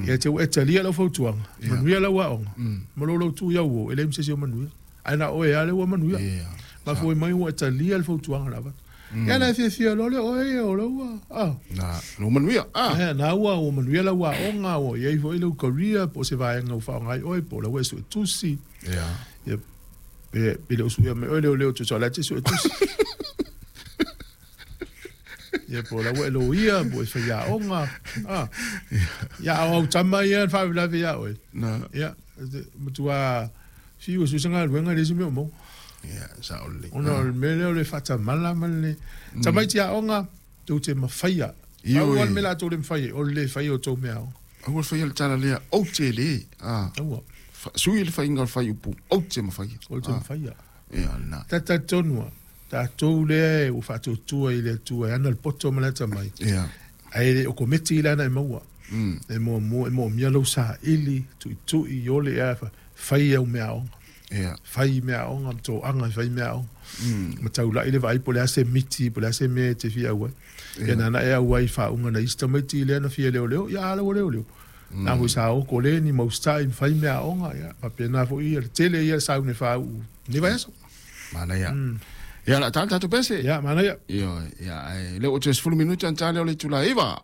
Ia te ua e talia lau fautuaga, manuia lau aoga, ma lou lautu i au uo, e leai ma se isi o manuia. Ae na o oe lava lea ua manuia. Mafua mai ua e talia le fautuaga na avatu. Ia na e fiafia loa lea oe ia o lau ua, ah. Na, lou manuia, ah. Eh, na ua, ua manuia lau aoga, ua i ai foi lau career, po o se vaega ua faaaoga ai oe, po o la ua e suetusi. Ia, pe, pe le o suia mai oe leoleo tusa o la e te suetusi. Ia po o la ua e loia, po o e faiaoga. Ah. Ia, a o au tama ia na faalavelave ia oe. Na. Ia, matua fiu e sue se galuega e leai se mea o maua. Ia, sao lelei. Ona o le mea lea o le faatamala ma le tamaiti aoga tou te mafaia. Ioe. Pau lava le mea la tou le mafai ai, o le le faia o tou mea aoga. Aua le faia le tala lea, ou te le, a. Aua. Sui le faiga o le fuaiupu, ou te mafaia. Ou te mafaia. Ia, lena. Ta talitonu lava, tatou lea ua faatuatua i le Atua e ana le poto ma le atamai, Ia. ae le o kometi la na e maua. E muamua, e moomia lou saili, tuitui, iole ea, fai au mea aoga. Ia. Fai mea aoga, ma toaga e fai mea aoga. Ma taulai le vaai po o le a se miti, po o le a se mea e te fia auai. Ia nana e auai i faauga na isi tamaiti lea na fia leoleo, ia a la ua leoleo. Na foi sa o kole ni mau stai ma fai mea aoga, ia faapena foi ia le tele ia sauni e faauu lenei vaiaso. Manaia. Ia, o le a ta le tatou pese. Ia, manaia. Ioe, ia, ae lea ua toe 10 minute ona ta lea o le itula e 9.